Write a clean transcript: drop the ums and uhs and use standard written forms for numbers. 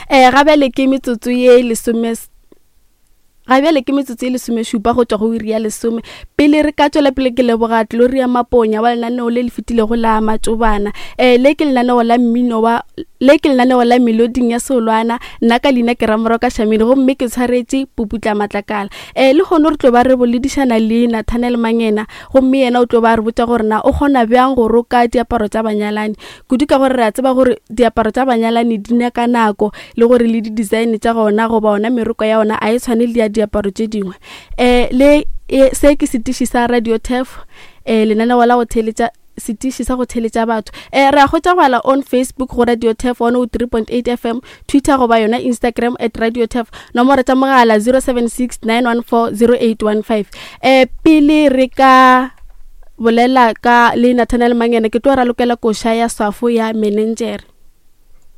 Um ga bjale ke metsotso ye lesome Ga bjale ke metsotso e lesomešupa go tšwa go iri ya lesome. Pele re ka tšwela pele ke leboga Gloria Maponya wa lenaneo le le fetilego la Matšobana. Um le ke lenaneo la mmino wa le ke lenaneo la meloding ya Seolwana. Nna ka leina ke Ramoroka Shamini gomme ke tshwaretše Puputla Matlakala. Um lehono re tlo ba re boledišana le Nathanael Mangena gomme yena o tlo ba re botša gore na o kgona bjang go roka diaparo tša banyalani. Kudu ka gore re a tseba gore diaparo tša banyalani di nyaka nako le gore le di-design tša gona goba ona meroko ya ona a e tshwane le ya diaparo tše dingwe. Um le e, se ke setiši sa Radio Turf, um lenaneo la go theeletša setiši sa go theeletša batho. Um re a hwetša go ala on Facebook go Radio Turf 103.8 FM, Twitter goba yona Instagram at Radio Turf, nomoro tša mogala 076 914 0815. Um pele re ka bolela ka le Nathanael Mangene ke tlo ralokela koša ya swafo ya menenjere.